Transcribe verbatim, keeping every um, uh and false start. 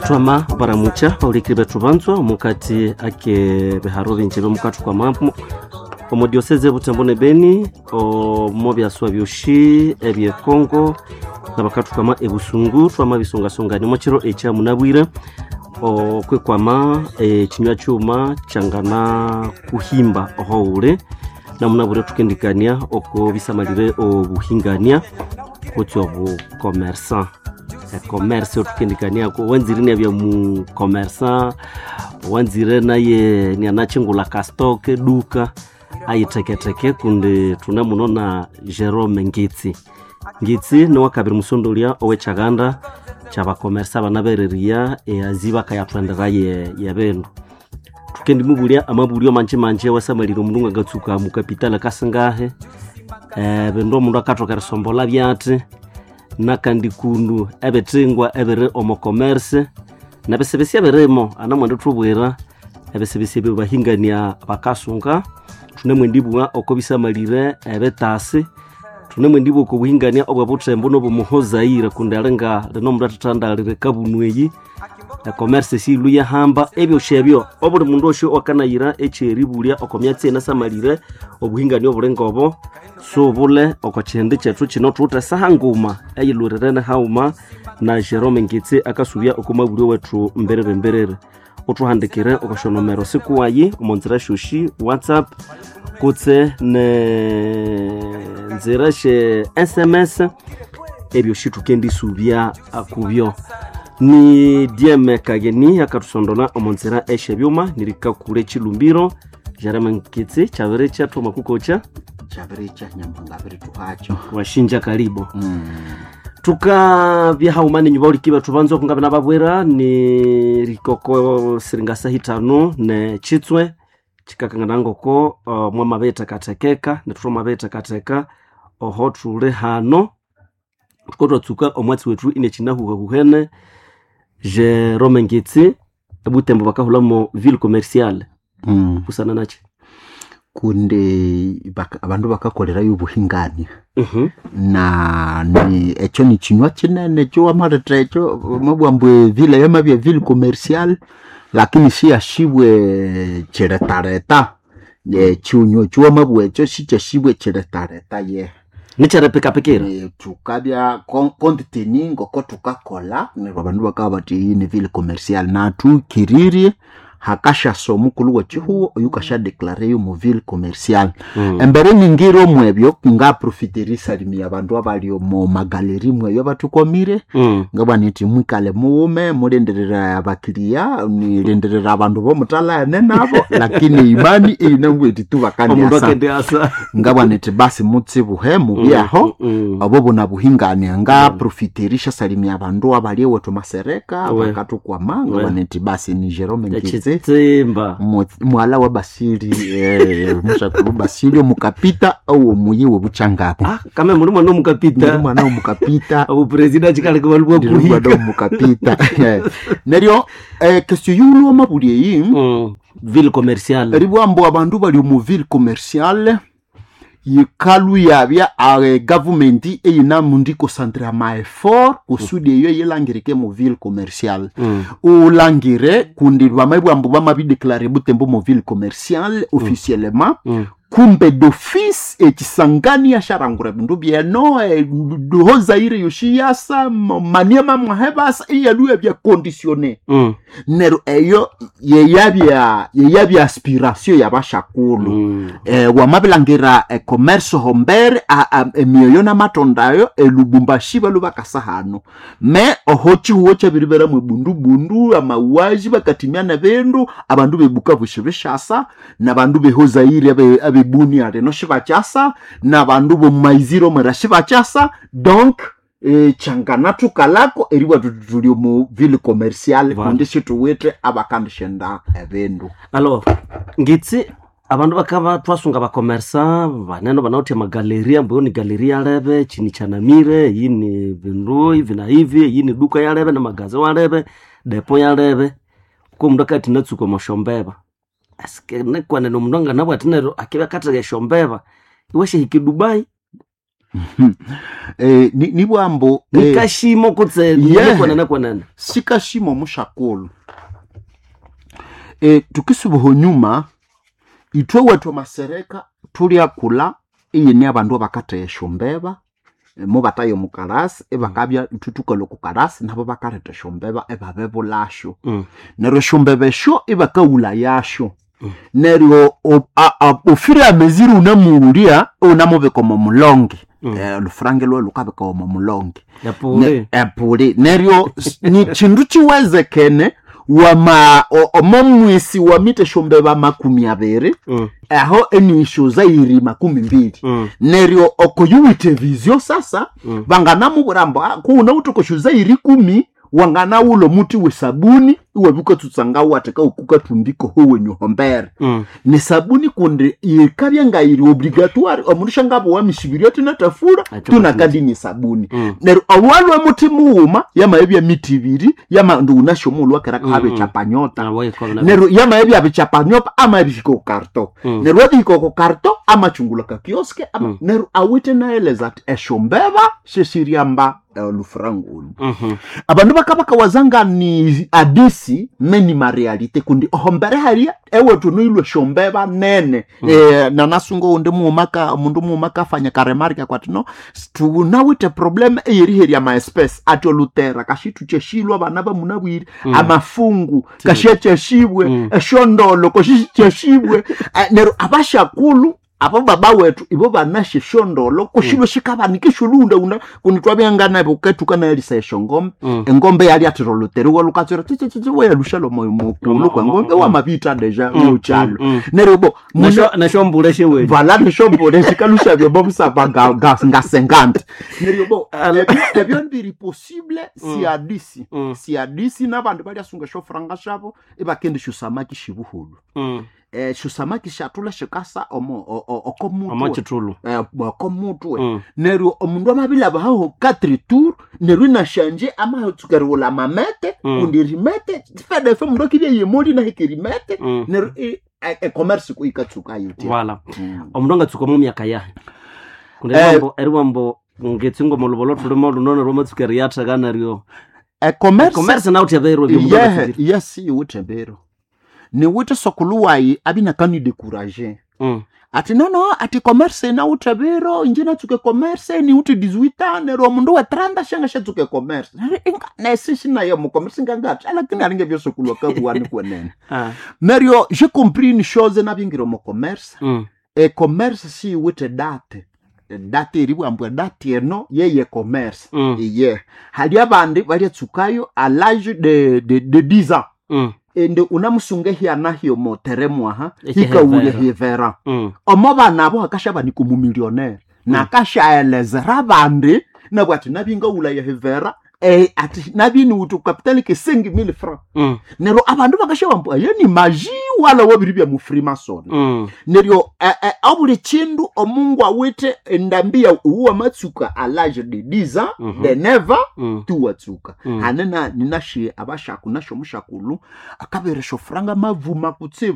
Twama baramucha baulikiri bethu banzwa omukati ake biharo binji byomukathu kwa mambo omo diocese Butembo ne Beni omo byaswa byoshi ebye Congo nabakathu kwama ebusungu twama bisungasungani omo kiro ekya munabwire okwekwama ekinywa kyuma kyangana kuhimba ohoule namunabwire thukendikania oko bisamalire obuhingania kutsi obukomersa ecommerce othukendikaniako wanzire niabya mucommerçant wanzire naye nianachingula kastoke duka ayiteketeke kundi thune muno na Jerome Ngitsi. Ngitsi niwakabiri musondolya owekyaganda kyabakomersa abanabereria eazi bakayathendera ye yebindu thukendimubulya amabulyo manji manji awasamalire omundu ngangatsuka mukapitali kasingahe ebindu omundu akathoka erisombolha byathi nakandi kundu ebithingwa ebiri omo commerce nebisibisi ebirimo anamwendithubwira ebisibisi ebyo bahingania bakasunga thunemwendibugha oko bisamalire ebitasi thunemwendibugha oko buhingania obwebuthembu nobomuhozaire kundi alinga lino omundu athathandalire kabunu eyi ecommerce siilhu yahamba ebyosi ebyo obuli mundu osyo owakanayira ekyeribulya oko myatsi enasamalire obuhingania obuli ngobo subule oko kihindi kyethu kino thuwithe esaha nguma eyilhurirene haghuma na Jerome Ngitsi akasubya oko mabulyo wethu mbiriri mbiriri uthuhandikire oko syonomero sikuwayi omo nzira syosi WhatsApp kutse ne nzira sye S M S ebyosi thukendisubya kubyo ni Diem Kageni akathusondola omo nzira esyebyuma nirikakule chilumbiro Jerome Ngitsi kyabiri kyathuma kukocha kyabiricha nyamhanga birituhacho washinja karibu mm. tukabya hauma ninyu bauliki bethu banza okungabe nababwira ni rikoko siringasa hitano ne chitswe chikakangana ngoko uh, mwamabithekathekeka nethu twamabithekatheka oho thuli hano thuko twatsuka omwatsi wethu inekinahuhahuhene Jerome Ngitsi ebutembo bakahulamo ville commerciale mm. busana nachi kundi baka, abandu bakakolerayo obuhingania uh-huh. na ni ekyo ni kinywa kinene ekyo wamaleta ekyo mabwa mbu evile yamabya ville commercial lakini siyashibwe kiretareta ekinywa ekyo wamabwa ekyo sikyashibwe kiretareta ye nikyeripikapikira Eh, tukabya kontitini ngoko tukakola neryo abandu bakaba bati iyi ni ville commercial nathukiririe hakashasa omukulu wekihugo oyukashadeklare yo mu ville commercial mm. embere ningire omwebyo ngaprofita erisalimia abandu abali omu magaleri mweyo abathukomire mm. ngabwa nithi mwikale muwume mulindirira abakiriya nilindirira abandu bomutalane nabo lakini imani eyinangweti omundu tubakandiasa akendiasa ngabwa nithi basi mutsibuhe mubyaho mm, mm. obo bunabuhingania ngaprofita erishasalimia abandu abali ewethu masereka We. bakathukwama ngabwa nithi basi ni Jerome Ngitsi ekitsimba Mu- mwala wa Basili eh, mushakulu Basili omukapita owo muyi webuchangabo ah kame muli mwana ndi omukapita mwana womukapita obupresida chikaleka balibwa ndi mwana kuhika womukapita neryo eh, question yiwulwa mabuli eyi mm. ville commerciale ribwambo abandu bali omu ville commerciale yikalu yabya a gavumenti eyinamundi concentre ama effort kusudi eyo yilangirike mu ville commerciale mm. ulangire kundi bamabwambo bamabideklare butembo mu ville commerciale officiellement mm. kumbe d'office ekisangani yasharangura bindu byeno eh, duhozaire yoshiyasa maniema mwahebasa iyaluya bya conditionné mm. neryo eyo yeyabya yeyabya aspiration yabashakulu mm. eh, wamabilangira ecommerce hombere emioyo namatondayo elubumbashi balu bakasa hano me oho chihuo kyabiribera mwebundubundu amauaji bakatimyana bindu abandu bebukavu shibishasa nabandu behozaire abe- abebunia rino shibakyasa nabandu bomumaiziro mwera shibakyasa donc eh, changana tukalako eribwa tuti tuli omu ville commerciale Voilà. kundi situwithe abakandishenda ebindu alors ngitsi abandu bakaba twasunga bakomersa banene banawithe amagaleria mbu ni galeria yalebe chini chanamire iyi ni bindu hivi na hivi iyi ni duka yalebe namagaze walebe depo yalebe ko mundu akati natsuka omoshombeba asike nekwanene omundu anganabwa ati neryo akibya akatheka eshombeba iwashahika edubai Eh, ni- nibwambo eh, nikashimo kutse Yeah. kwanana kwanana sikashimo mushakulu e, tukisubuho nyuma ithwe wethu masereka tulyakula iyine abandu abakatheya esyombeba eh, mubataya omukarasi ibakabya ithwe tukalwa okukarasi nabo bakaletha esyombeba ibabebulasyo Mm. neryo esyombeba esyo ibakawula yasyo Mm. neryo o- a- a- ofire ameziri unamuwulya unamubika omo mulonge Mm. Eh, olufrange lwe lukabika omo mulonge yapure Ne- epuli neryo s- ni chindu chiwezekene wama o- omo mwisi wamite esyombeba makumi abiri Mm. aho enisho zairi makumi mbili Mm. neryo okoyuwite vizio sasa Mm. vanganamubwira mbu "Ah, kuuna utokosho zairi kumi wanganawula omuti wesabuni iwabikatsutsanga watheka ukukathumbika howenyuhombere Mm. ni sabuni kundi yikabya ngayiri obligatoire omundu shangabowa mishibiri tinatafura Acho tunakandi ni sabuni Mm. neryo owalwe muti mughuma yamabya miti ibiri yama ndiwunasyo omughulhu wakera Mm, kabe mm. chapanyota Ah, waikwa na- neryo yamabya bichapanyota amabihika ku karto Mm. neryo wabihika ku karto amachungula ka kioske ama Mm. neryo awithe naeleza ati esyombeba sesiryamba olufurangulu Mhm. abandu bakabakawazanga ni adisi meni marealite kundi ohombere haria ewethu noilwe shombeba nene mm. e, nanasunga undi muumaka omundu muuma kafanya karemarika kwati no tunawithe problem eyeriherya maespesi ati olutera kashithucheshilwe abana bamunabwire mm. amafungu kashyacheshibwe Mm. eshondolo koshicheshibwe Eh, neryo abashakulu abo baba wethu ibo banashe shondolo kushilwe shikabanika esholuunda kundi twabyanganabo ketukanayalisa eshongombe Mm. engombe yali athira oluteriwa lukatswera tsitsitsi weyalusha mukulu kwengombe wamabita deja yochalo mm. neryo bo Nasho- nashombula shewe vala neshombole shikalusha byobo busaba nga- nga- ngasengante neryo bo ebyo- ebyo ndiri possible siadisi Mm. siadisi nabandu balyasunga eshofuranga shabo ibakenda eshosamaki shibuhulu Mm. eh, shosamaki shatula shikasa omo o- o- okomutwe amachitulu Eh, okomutwe Mm. neryo omundu amabilaba haho quatre tour neryo inashanje amatsukeriwula mamete Mm. kundi rimete fedefe mundu akibya yemoli nahike rimete Mm. neryo i- e- e-commerce kuikatsuka yitya wala Mm. omundu angatsuka mu myaka yahe kundi Eh. eriwambo eriwambo ngetsingo mulubolo thulimo lunono lwamatsuka eriyatheka neryo E-commerce commerce nawu theberwe byomundu yehe angatsukire. yes iwuthe bero niwithe sokuluwayi abinakani-décourager Mm. ati nono ati commerce nawuthe biro inje natsuke commerce niwuthe dix-huit ans neryo omundu we trente shanga shatsuke commerce Neryo inga- nesi shinaye mu commerce ngangati lakini alinge byosokulwa kabuwani kwenene Ah. neryo j'ai compris une chose nabingira omu commerce Mm. e-commerce siyiwithe date date eribwambwa date eno yeye commerce Mm. iye hali abandi balyatsukayo à l'âge de, de, de dix ans Mm. ende unamusunga ehyana hyomoteremwaha Ekihevera. hikawulya hivera Mm. omo bana abo hakasha ni kumumilionere nakashaelezera abandi nabwo ati nabingawulaya hivera eh, ati nabiniwuthi kapitali ke cinq mille francs Mm. neryo abandu bakasha bambu aye ni maji wala wabiri bya mu freemason Mm. neryo eh, eh, abuli chindu omungu awithe endambi ya uwa matsuka à l'âge de dix ans Mhm. de neuf ans Mm. tuwatsuka Mm. hane na ninashe abashaku nasho mushakulu akaberesha ofuranga mavuma kutsibu.